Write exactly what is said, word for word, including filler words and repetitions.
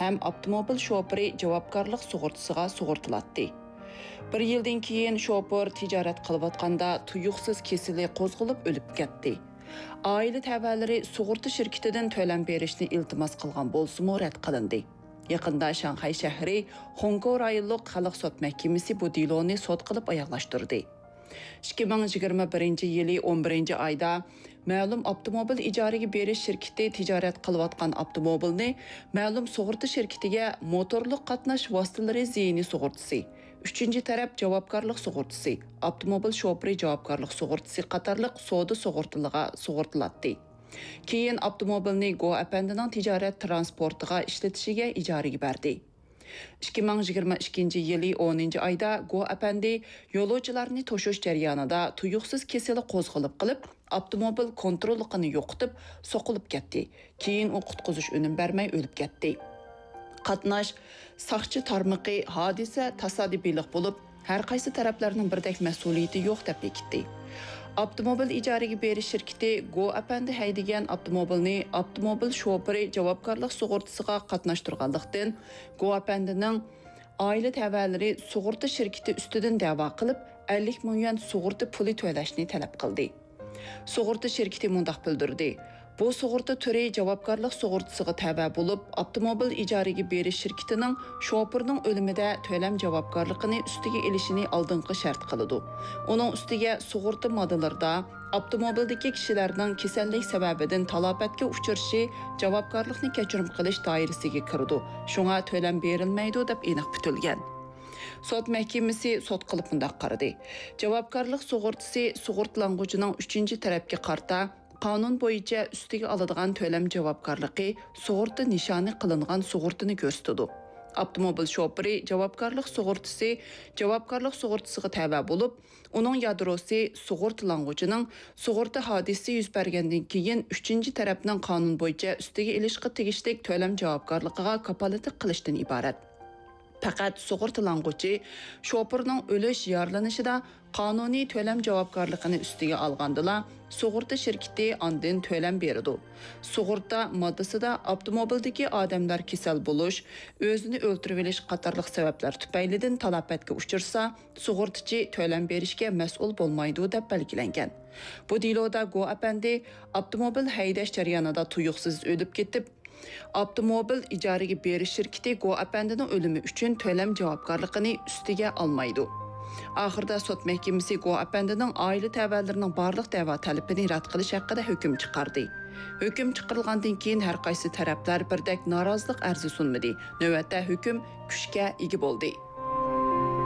ھەم ئاپتوموبىل شوپۇرى جاۋابكارلىق سۇغۇرتىسىغا سۇغۇرتىلاتتى. بىر يىلدىن كېيىن شوپۇر تىجارەت قىلىۋاتقاندا تۇيۇقسىز كېسىلى قوزغىلىپ ئۆلۈپ كەتتى. ئائىلە تەۋەلىرى سۇغۇرتا شىركىتىدىن تۆلەم بېرىشنى ئىلتىماس قىلغان بولسىمۇ رەت قىلىندى. يېقىندا شاڭخەي شەھىرى خۇڭكوۋ رايونلۇق خەلق سوت مەھكىمىسى بۇ دېلونى سوت قىلىپ ئاياغلاشتۇردى. ئىككى مىڭ يىگىرمە بىرىنچى يىلى ئون بىرىنچى ئايدا مەلۇم ئاپتوموبىل ئىجارىگە بېرىش شىركىتى تىجارەت قىلىۋاتقان ئاپتوموبىلنى مەلۇم سۇغۇرتا شىركىتىگە موتورلۇق قاتناش ۋاسىتىلىرى زىيىنى سۇغۇرتىسى، ئۈچىنچى تەرەپ جاۋابكارلىق سۇغۇرتىسى، ئاپتوموبىل شوپۇرى جاۋابكارلىق سۇغۇرتىسى قاتارلىق سودا سۇغۇرتىلىرىغا سۇغۇرتىلاتتى. كېيىن ئاپتوموبىلنى گو ئەپەندىنىڭ تىجارەت تىرانسپورتىغا ئىشلىتىشىگە ئىجارىگە بەردى. ئىككى مىڭ يىگىرمە ئىككىنچى يىلى ئونىنچى ئايدا گو ئەپەندى يولۇچىلارنى توشۇش جەريانىدا تۇيۇقسىز كېسىلى قوزغىلىپ قېلىپ، ئاپتوموبىل كونتروللۇقىنى يوقىتىپ، سوقۇلۇپ كەتتى. كېيىن ئۇ قۇتقۇزۇش ئۈنۈم بەرمەي ئۆلۈپ كەتتى. قاتناش ساقچى تارمىقى ھادىسە تاسادىپىيلىق بولۇپ، ھەر قايسى تەرەپلەرنىڭ بىردەك مەسئۇلىيىتى يوق دەپ بېكىتتى. ئاپتوموبىل ئىجارىگە بېرىش شىركىتى گو ئەپەندى ھەيدىگەن ئاپتوموبىلنى ئاپتوموبىل شوپۇرى جاۋابكارلىق سۇغۇرتىسىغا قاتناشتۇرغانلىقتىن، گو ئەپەندىنىڭ ئائىلە تەۋەلىرى سۇغۇرتا شىركىتى ئۈستىدىن دەۋا قىلىپ، ئەللىك مىڭ يۈەن سۇغۇرتا پۇلى تۆلەشنى تەلەپ قىلدى. سۇغۇرتا شىركىتى مۇنداق بىلدۈردى: بۇ سۇغۇرتا تۈرى جاۋابكارلىق سۇغۇرتىسىغا تەۋە بولۇپ، ئاپتوموبىل ئىجارىگە بېرىش شىركىتىنىڭ شوپۇرنىڭ ئۆلۈمىدە تۆلەم جاۋابكارلىقىنى ئۈستىگە ئېلىشىنى ئالدىنقى شەرت قىلىدۇ. ئۇنىڭ ئۈستىگە سۇغۇرتا ماددىلىرىدا ئاپتوموبىلدىكى كىشىلەرنىڭ كېسەللىك سەۋەبىدىن تالاپەتكە ئۇچرىشى جاۋابكارلىقنى كەچۈرۈم قىلىش دائىرىسىگە كىرىدۇ، شۇڭا تۆلەم بېرىلمەيدۇ، دەپ ئېنىق پۈتۈلگەن. سوت مەھكىمىسى سوت قىلىپ مۇنداق قارىدى: جاۋابكارلىق سۇغۇرتىسى سۇغۇرتىلانغۇچىنىڭ ئۈچىنچى تەرەپكە قارىتا قانۇن بويىچە ئۈستىگە ئالىدىغان تۆلەم جاۋابكارلىقى سۇغۇرتا نىشانى قىلىنغان سۇغۇرتىنى كۆرسىتىدۇ. ئاپتوموبىل شوپۇرى جاۋابكارلىق سۇغۇرتىسى جاۋابكارلىق سۇغۇرتىسىغا تەۋە بولۇپ، ئۇنىڭ يادروسى سۇغۇرتىلانغۇچىنىڭ سۇغۇرتا ھادىسىسى يۈز بەرگەندىن كېيىن ئۈچىنچى تەرەپنىڭ قانۇن بويىچە ئۈستىگە ئېلىشقا تېگىشلىك تۆلەم جاۋابكارلىقىغا كاپالەتلىك قىلىشتىن ئىبارەت. پەقەت سۇغۇرتىلانغۇچى شوپۇرنىڭ ئۆلۈش، يارىلىنىشىدا قانۇنىي تۆلەم جاۋابكارلىقىنى ئۈستىگە ئالغاندىلا، سۇغۇرتا شىركىتى ئاندىن تۆلەم بېرىدۇ. سۇغۇرتا ماددىسىدا ئاپتوموبىلدىكى ئادەملەر كېسەل بولۇش، ئۆزىنى ئۆلتۈرۈۋېلىش قاتارلىق سەۋەبلەر تۈپەيلىدىن تالاپەتكە ئۇچرىسا، سۇغۇرتىچى تۆلەم بېرىشكە مەسئۇل بولمايدۇ، دەپ بەلگىلەنگەن. بۇ دېلودا گو ئەپەندى ئاپتوموبىل ھەيدەش جەريانىدا تۇيۇقسىز ئۆلۈپ كېتىپ، ئاپتوموبىل ئىجارىگە بېرىش شىركىتى گو ئەپەندىنىڭ ئۆلۈمى ئۈچۈن تۆلەم جاۋابكارلىقىنى ئۈستىگە ئالمايدۇ. ئاخىرىدا سوت مەھكىمىسى گو ئەپەندىنىڭ ئائىلە تەۋەلىرىنىڭ بارلىق دەۋا تەلىپىنى رەت قىلىش ھەققىدە ھۆكۈم چىقاردى. ھۆكۈم چىقىرىلغاندىن كېيىن ھەر قايسى تەرەپلەر بىردەك نارازىلىق ئەرزى سۇنمىدى. نۆۋەتتە ھۆكۈم كۈچكە ئىگە بولدى.